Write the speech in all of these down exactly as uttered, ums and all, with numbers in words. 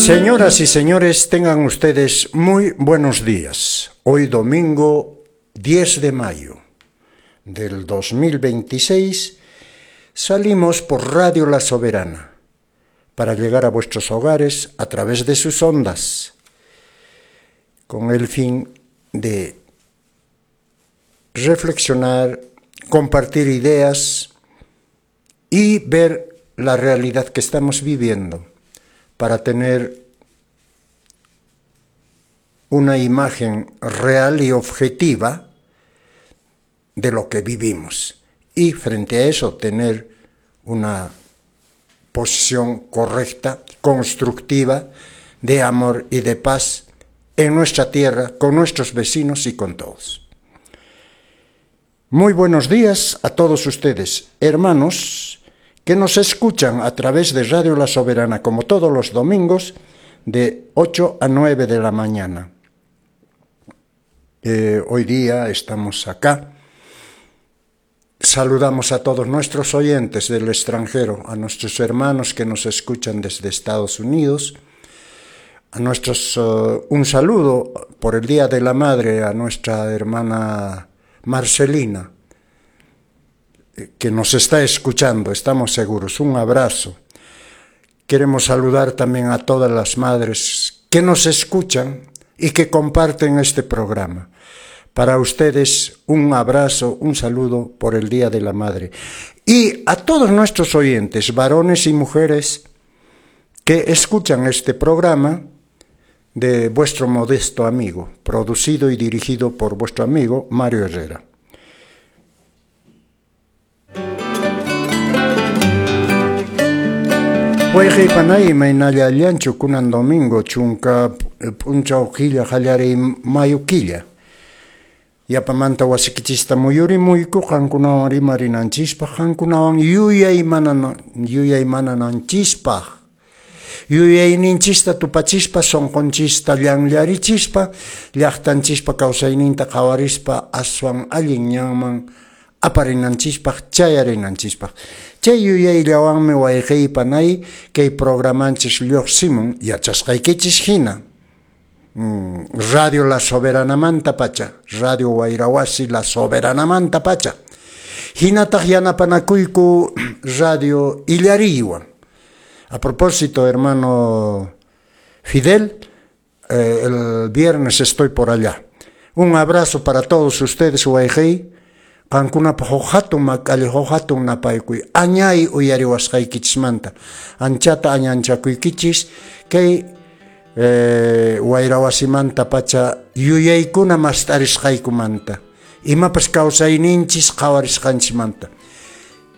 Señoras y señores, tengan ustedes muy buenos días. Hoy domingo diez de mayo del dos mil veintiséis salimos por Radio La Soberana para llegar a vuestros hogares a través de sus ondas, con el fin de reflexionar, compartir ideas y ver la realidad que estamos viviendo para tener una imagen real y objetiva de lo que vivimos y frente a eso tener una posición correcta, constructiva, de amor y de paz en nuestra tierra, con nuestros vecinos y con todos. Muy buenos días a todos ustedes, hermanos, que nos escuchan a través de Radio La Soberana, como todos los domingos, de ocho a nueve de la mañana. Eh, hoy día estamos acá. Saludamos a todos nuestros oyentes del extranjero, a nuestros hermanos que nos escuchan desde Estados Unidos, a nuestros, uh, un saludo por el Día de la Madre a nuestra hermana Marcelina, que nos está escuchando, estamos seguros. Un abrazo. Queremos saludar también a todas las madres que nos escuchan y que comparten este programa. Para ustedes, un abrazo, un saludo por el Día de la Madre. Y a todos nuestros oyentes, varones y mujeres, que escuchan este programa de vuestro modesto amigo, producido y dirigido por vuestro amigo Mario Herrera. Wayqi panay imaynalla allanchu kunan domingo chunka p'unchaw killa qallariy mayu killa. Yapamanta wasikichista muyurimuyku qankunawan rimarinanchispaq, qankunawan yuyaymanananchispaq, yuyayninchista tupachispa, sunqunchista llanllarichispa, llaqtanchispa kawsayninta qhawarispa aswan allin ñanman aparinanchispaq, chayarinanchispaq. Chay yuyayllawanmi wayqiy panay kay programanchis lluqsimun yachasqaykichis hina. Radio La Soberanamanta pacha, Radio Wayrawasi La Soberanamanta pacha. Hinataq yanapanakuyku Radio Illariywan. A propósito, hermano Fidel, eh, el viernes estoy por allá. Un abrazo para todos ustedes, wayqiy. Qankunapaq huk hatun mak'alli, huk hatun napaykuy. Añay uyariwasqaykichismanta. Anchata añanchakuykichis kay eh, wayrawasimanta pacha yuyaykuna mast'arisqaykumanta. Imapas kawsayninchis qhawarisqanchismanta.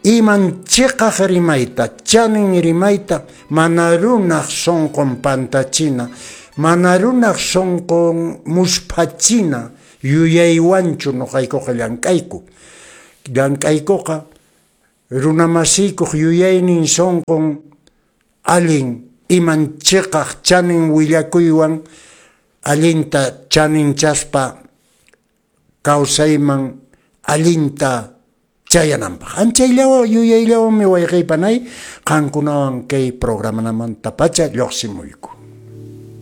Iman chiqaq rimayta, chanin rimayta, mana runaq sunqun pantachina, mana runaq sunqun musphachina yuyaywanchu nuqaykuqa llank'ayku. Llank'aykuqa runamasiykuq yuyaynin sunqun allin iman chiqaq chanin willakuywan allinta chaninchaspa kawsayman allinta chayananpaq. Anchayllawan yuyayllawanmi wayqi panay qankunawan kay programamanta pacha lluqsimuyku.